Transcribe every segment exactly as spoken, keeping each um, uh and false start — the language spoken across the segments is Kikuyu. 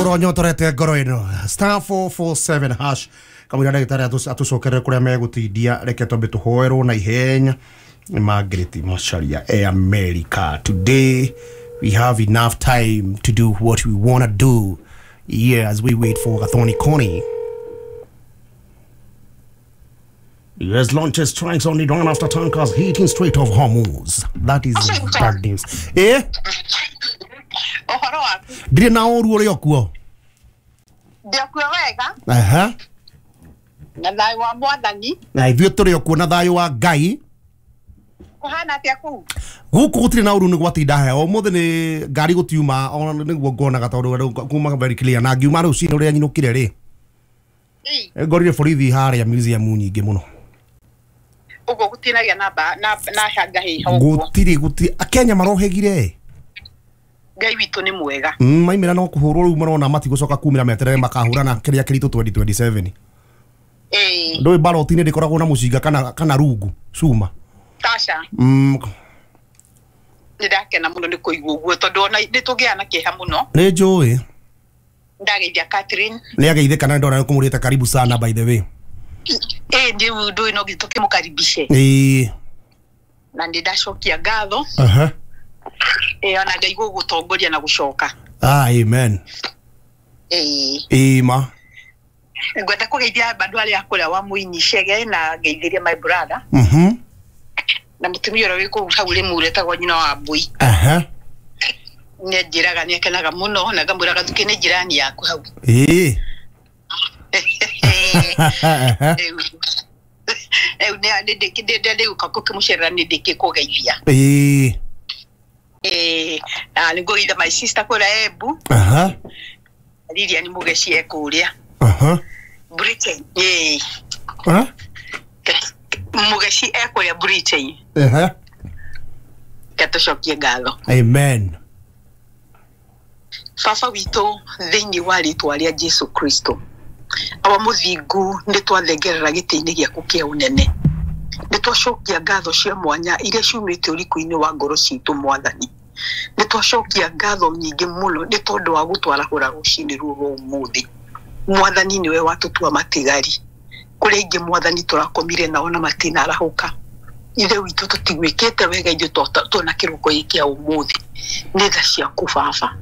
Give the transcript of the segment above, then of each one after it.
Uronyotorete ngoro ĩno star four four seven hash kamũira ndagĩtarĩ atũcokerere kũrĩa megũtindia reke twambe tũhoerwo na ihenya nĩ Margaret Macharia e America. Today we have enough time to do what we wanna do. Yeah, as we wait for Gathoni Koni. U S launches strikes on Iran after tankers hitting Strait of Hormuz. That is bad news. Eh? Ndirĩ na ũru ũrĩa ũkuo. Ndĩokuo wega. Aha. Na thayũ wa Mwathani. Na ithuĩ tũrĩ okuo na thayũ wa Ngai. Kũhana atĩa kũu? Gũkũ gũtirĩ na ũru nĩ gwatinda heho. Ũmũthĩ nĩ ngari gũtiuma ona nĩguo ngonaga tondũ kuma very clear na ngiuma rũcinĩ ũrĩa nyinũkire rĩ. Ngorire borithi harĩa museum nyingĩ mũno. Ũguo gũtinagĩa na na na hanga hiho. Gũtirĩ gũtirĩ Akenya marohegire. Ngai witũ nĩ mwega. Mm, maimĩra no kũhũrwo rĩu marona matigũcoka kumĩra meterere makahũrana kĩrĩa kĩritũ twenty twenty-seven. Eh. Ndũĩ ballot-inĩ ndĩkoragwo na mũcinga kana kana rungu cuma. Tasha. Mm. Nĩndakena mũno nĩ kũigua ũguo tondũ ona nĩ tũgĩaga na kĩeha mũno. Nĩ njũĩ. Ndageithia Catherine. Nĩ ageithĩka na ndona nĩkũmũrĩte karibu sana by the way. Eh, ndĩ ndũĩ no nginya tũkĩmũkaribishe. Ĩĩ. Na nĩ ndacokia ngatho. Aha. Eh, ona Ngai gũgũtongoria na gũcoka. Ah, amen. Eh. Ĩĩ ma. Ngwenda kũgeithia andũ arĩa kũrĩa wa Mũini Chege na ngeithĩrie my brother. Mhm. Na mũtumia ũrĩa wĩ kũu hau Rĩmuru etagwo nyina wa Mbui. Aha. Nĩ anjĩraga nĩ akenaga mũno na ngamwĩraga Thukĩ nĩ jirani yaku hau. Ĩĩ. Rĩu nĩ ndĩgũka gũkĩmũcerera nĩ ndĩkĩkũgeithia. Ĩĩ. Eh, na nĩngũgeithia my sister kũrĩa Embu. Aha. Lilian Mũgeci e kũrĩa. Aha. Britain. Ĩĩ. Aha. Mũgeci e kũrĩa Britain. Aha. Reke tũcokie ngatho. Amen. Baba witũ thĩinĩ wa rĩtwa rĩa Jesu Kristo. Awa mũthingu nĩ twathengerera gĩtĩ-inĩ gĩaku kĩa ũnene. Nĩ twacokia ngatho cia mwanya iria ciumĩte ũriku-inĩ wa ngoro citũ Mwathani. Nĩ twacokia ngatho nyingĩ mũno nĩ tondũ wa gũtwarahũra rũcinĩ rũrũ rwa ũmũthĩ. Mwathani nĩwe watũtua matigari. Kũrĩ aingĩ Mwathani tũrakomire nao na matinarahũka. Ithe witũ tũtigwĩkĩte wega ithuĩ tuona kĩroko gĩkĩ kĩa ũmũthĩ. Nĩ tha ciaku Baba.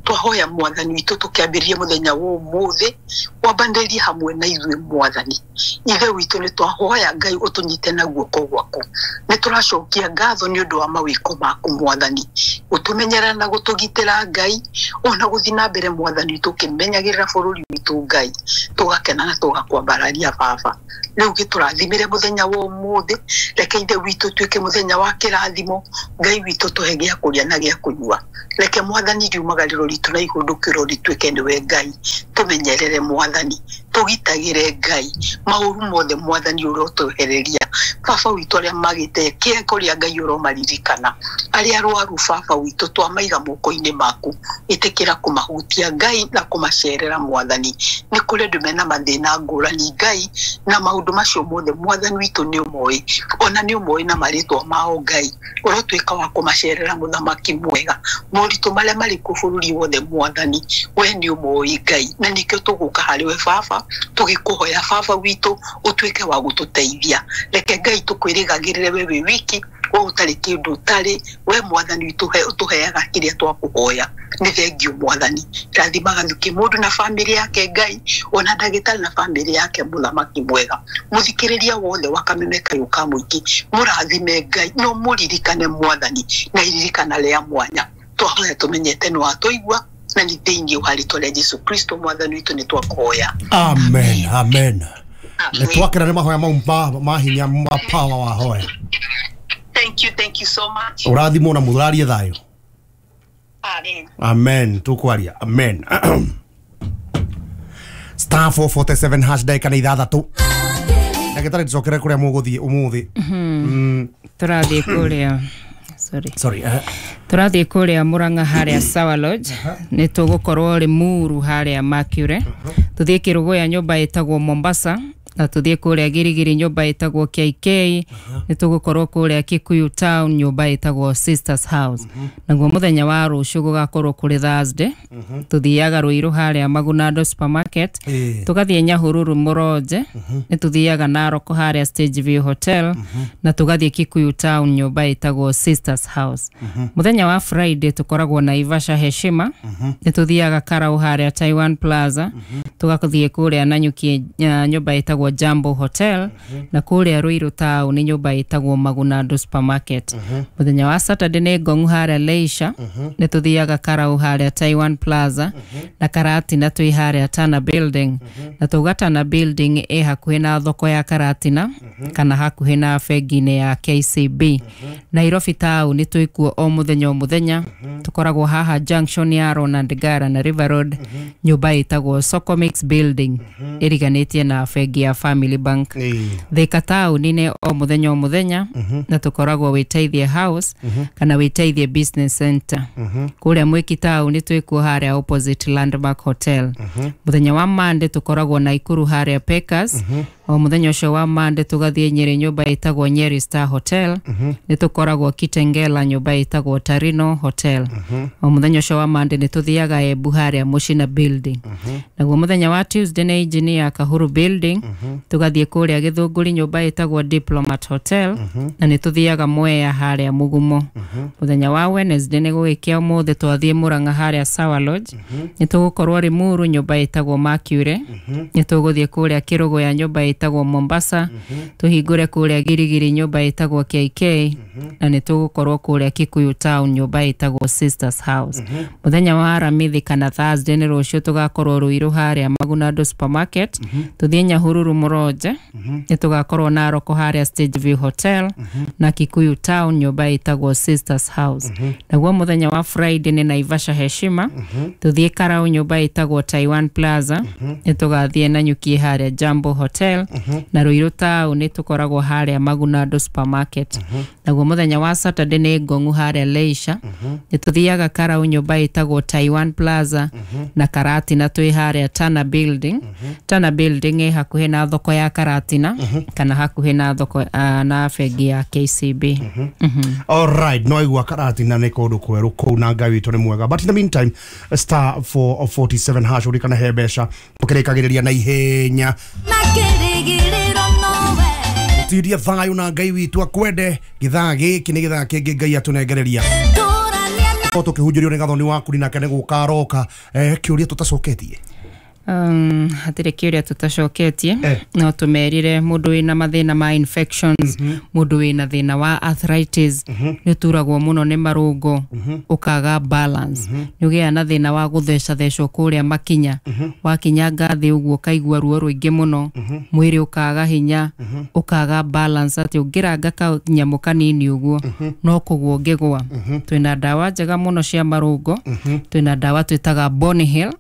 Twahoya Mwathani witũ tũkĩambĩrĩria mũthenya wa ũmũthĩ wambanĩrie hamwe na ithuĩ Mwathani. Ithe witũ nĩ twahoya Ngai ũtũnyite na guoko gwaku. Nĩ tũracokia ngatho nĩ ũndũ wa mawĩko maku Mwathani. Gũtũmenyerera na gũtũgitĩra Ngai ona gũthiĩ na mbere Mwathani witũ ũkĩmenyagĩrĩra bũrũri witũ Ngai. Tũgakena na tũgakwambararia Baba. Rĩu gĩtũrathimĩre mũthenya wa ũmũthĩ. Reke Ithe witũ tuĩke mũthenya wa kĩrathimo. Ngai witũ tũhe gĩa kũrĩa na gĩa kũnyua. Reke Mwathani riumagarĩro ritũ na ihũndũkĩro rituĩke nĩwe Ngai. Tũmenyerere Mwathani, tũgitagĩre Ngai maũru mothe Mwathani ũrotwehereria. Baba witũ arĩa magĩte kĩe kũrĩa Ngai ũromaririkana. Arĩa arwaru Baba witũ twamaiga moko-inĩ maku. Ĩtĩkĩra kũmahutia Ngai na kũmacerera Mwathani. Nĩ kũrĩ andũ mena mathĩna ngũrani Ngai na maũndũ macio mothe Mwathani witũ nĩ ũmoĩ. Ona nĩ ũmoĩ na marĩtwa mao Ngai. Ũrotuĩka wa kũmacerera mũthamaki mwega. Moritũ marĩa marĩ kuo bũrũri wothe Mwathani we nĩ ũmoĩ Ngai. Na nĩkĩo tũgũka harĩ we Baba tũgĩkũhoya Baba witũ ũtuĩke wa gũtũteithia. Reke Ngai tũkwĩrĩgagĩrĩre we wĩ wiki we ũtarĩ kĩndũ ũtarĩ we Mwathani witũ ũtũheaga kĩrĩa twakũhoya. Nĩ thengio Mwathani. Rathimaga Thukĩ mũndũ na bamĩrĩ yake Ngai ona ndagĩtarĩ na bamĩrĩ yake mũthamaki mwega. Mũthikĩrĩria wothe wa Kameme Kayũ ka Mũingĩ mũrathime Ngai no mũririkane Mwathani na iririkana rĩa mwanya. Twahoya tũmenyete nĩ watũigua na nĩ thĩinĩ wa rĩtwa rĩa Jesu Kristo Mwathani witũ nĩ twakũhoya. Amen. Amen. Nĩ twakena nĩ mahoya mau ma hinya ma power wa hoya. Thank you, thank you so much. Ũrathimwo na mũrarie thayũ. Amen. Amen. Tukwaria. Amen. Star four forty-seven hash ndagĩka nĩ ithathatũ. Ndagĩtarĩ tũcokere kũrĩa mũgũthiĩ ũmũthĩ. Mm. Tũrathiĩ kũrĩa sorry. Sorry. Uh. Tũrathiĩ kũrĩa Murang'a harĩa Sawa Lodge. Nĩ tũgũkorwo Limuru harĩa Mercury. Tũthiĩ Kĩrũgũya nyũmba ĩtagwo Mombasa. Na tuthiĩ kũrĩa Girigiri nyũmba ĩtagwo K K. Nĩ tũgũkorwo kũrĩa Kikuyu Town, nyũmba ĩtagwo Sisters House. Naguo mũthenya wa rũciũ gũgakorwo kũrĩ Thursday, tũthiaga Ruiru harĩa Magunando Supermarket. Ĩĩ. Tũgathiĩ Nyahururu Mũronje, nĩ tũthiaga Narok harĩa Stage View Hotel, na tũgathiĩ Kikuyu Town, nyũmba ĩtagwo Sisters House. Mũthenya wa Friday tũkoragwo Naivasha Heshima, nĩ tũthiaga Karau harĩa Taiwan Plaza, tũgathiĩ kũrĩa Nanyuki uh, nyũmba ĩtagwo Jambo Hotel, na kũrĩa Ruiru Town nĩ nyũmba ĩtagwo Magunando Supermarket. Mũthenya wa Saturday nĩ Ngong'u harĩa Leisure, nĩ tũthiaga Karau harĩa Taiwan Plaza, na Karatina twĩ harĩa Tana Building, na tauga Tana Building ĩ hakuhĩ na thoko ya Karatina kana hakuhĩ na bengi-inĩ ya K C B. Nairobi town twĩkuo o mũthenya o mũthenya, tũkoragwo haha junction ya Ronald Ngara na River Road, nyũmba ĩtagwo Socomix Building ĩriganĩtie na bengi ya Family Bank. Ĩĩ. Thika taũni-inĩ o mũthenya o mũthenya, na tũkoragwo Wĩteithie House kana Wĩteithie Business Center. Kũrĩa Mwĩki taũni twĩkuo harĩa opposite Landmark Hotel. Mũthenya wa Monday tũkoragwo Naikuru harĩa Pekas. O mũthenya ũcio wa Monday tũgathiĩ Nyĩrĩ, nyũmba ĩtagwo Nyeri Star Hotel. Nĩ tũkoragwo Kitengela, nyũmba ĩtagwo Tarino Hotel. O mũthenya ũcio wa Monday nĩ tũthiaga Embu harĩa Mũcina Building. Naguo mũthenya wa Tuesday nĩ Engineer Kahuru Building, tũgathiĩ kũrĩa Gĩthũngũri, nyũmba ĩtagwo Diplomat Hotel, na nĩ tũthiaga Mwea harĩa Mũgumo. Mũthenya wa Wednesday nĩ gũgĩkĩa ũmũthĩ, twathiĩ Mũrang'a harĩa Sawa Lodge. Nĩ tũgũkorwo Limuru, nyũmba ĩtagwo Mercury. Nĩ tũgũthiĩ kũrĩa Kĩrũgũya, nyũmba ĩtagwo Mombasa, tũhingũre kũrĩa Girigiri, nyũmba ĩtagwo K K, na nĩ tũgũkorwo kũrĩa Kikuyu Town, nyũmba ĩtagwo Sisters House. Mũthenya wa Aramithi kana Thursday nĩ rũciũ, tũgakorwo Ruiru harĩa Magunando Supermarket, tũthiĩ Nyahururu Mũronje, nĩ tũgakorwo Narok harĩa Stage View Hotel, na Kikuyu Town, nyũmba ĩtagwo Sisters House. Naguo mũthenya wa Friday nĩ Naivasha Heshima, tũthiĩ Karau, nyũmba ĩtagwo Taiwan Plaza, nĩ tũgathiĩ Nanyuki harĩa Jambo Hotel, na Ruiru Town nĩ tũkoragwo harĩa Magunando Supermarket. Naguo mũthenya wa Saturday nĩ Ngong'u harĩa Leisure, nĩ tũthiaga Karau, nyũmba ĩtagwo Taiwan Plaza, na Karatina twĩ harĩa Tana Building. Tana Building ĩ hakuhĩ na thoko ya Karatina kana hakuhĩ na thoko uh, na bengi ya K C B. Mhm. Alright, no igua Karatina nĩ kũndũ kwerũ kũu, na Ngai witũ nĩ mwega. But in the meantime, star four forty-seven hash, ũrikana he mbeca tũkĩrĩkagĩrĩria na ihenya. Na kĩrĩgĩrĩro nowe. Tiria thayũ na Ngai witũ akwende. Gĩthaa gĩkĩ nĩ gĩthaa kĩngĩ Ngai atũnengereria. Tũrania na o tũkĩhunjĩrio nĩ gathoni waku nake nĩ gũka aroka. eh, kĩũria tũtacoketie? um, hatirĩ kĩũria tũtacoketie. Eh. No tũmerire mũndũ wĩna mathĩna ma infections, mũndũ wĩna thĩna wa arthritis, nĩ ũturagwo mũno nĩ marũngo, ũkaga balance, nĩ ũgĩaga na thĩna wa gũthecathecwo kũrĩa makinya, wakinyanga thĩ ũguo ũkaigua ruo rũingĩ mũno, mwĩrĩ ũkaga hinya, ũkaga balance, atĩ ũngĩranga kanyamũ kanini ũguo no kũgwa ũngĩgwa. Twĩna ndawa njega mũno cia marũngo. Twĩna ndawa twĩtaga Bone Heal,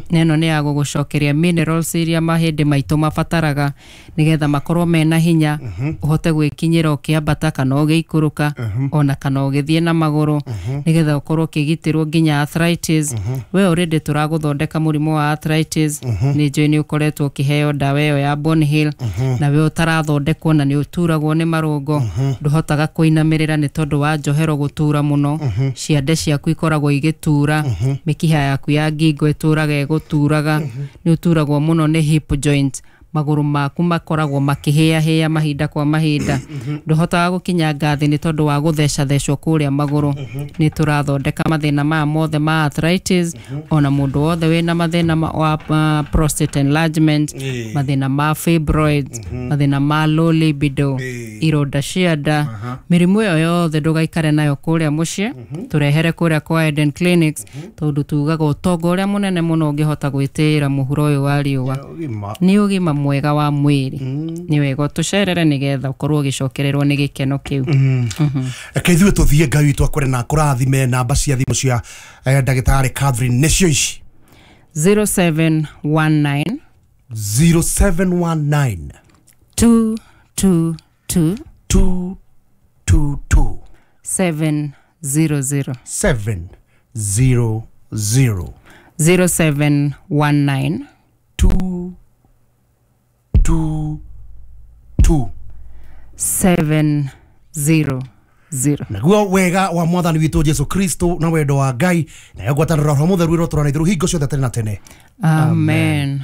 na ĩno nĩ ya gũgũcokeria minerals iria mahĩndĩ maitũ mabataraga nĩgetha makorwo mena hinya, ũhote gwĩkinyĩra ũkĩambata kana ũgĩikũrũka ona kana ũgĩthiĩ na magũrũ, nĩgetha ũkorwo ũkĩgitĩrwo nginya arthritis. We already tũragũthondeka mũrimũ wa arthritis, nĩ njũĩ nĩ ũkoretwo ũkĩheo ndawa ĩyo ya Bone Heal. Na we ũtarathondekwo na nĩ ũturagwo nĩ marũngo, ndũhotaga kũinamĩrĩra nĩ tondũ wa njohero gũtura mũno, ciande ciaku ikoragwo igĩtura, mĩkiha yaku ya ngingo ĩtũraga ĩgũturaga, nĩ ũturagwo mũno nĩ hip joint, magũrũ maku makoragwo makĩhĩahĩa mahinda kwa mahinda, ndũhotaga gũkinya ngathĩ nĩ tondũ wa gũthecathecwo kũrĩa magũrũ, nĩ tũrathondeka mathĩna maya mothe ma arthritis. Ona mũndũ wothe wĩna mathĩna ma- wa uh, prostate enlargement, mathĩna ma fibroids, mathĩna ma low libido, ironda cia nda, mĩrimũ ĩyo yothe ndũgaikare nayo kũrĩa mũciĩ, tũrehere kũrĩa kwa Eden Clinics, tondũ tugaga ũtonga ũrĩa mũnene mũno ũngĩhota gwĩtĩĩra mũhuro ũyũ wa riũa Ũgima. Nĩ ũgima mwega wa mwĩrĩ. Nĩ wega ũtũcerere nĩgetha ũkorwo ũgĩcokererwo nĩ gĩkeno kĩu. Reke ithuĩ tũthiĩ. Ngai witũ akwĩre na akũrathime. Namba cia thimũ cia eh, ndagĩtarĩ Catherine nĩcio ici: zero seven one nine zero seven one nine two two two two two two seven zero zero. seven zero zero. zero seven one nine two two seven zero zero. Naguo wega wa mwathani witũ Jesu Kristo na wendo wa Ngai nayo ngwatanĩro ya Roho Mũtheru ĩrotũra na ithuĩ hingo ciothe tene na tene. Amen.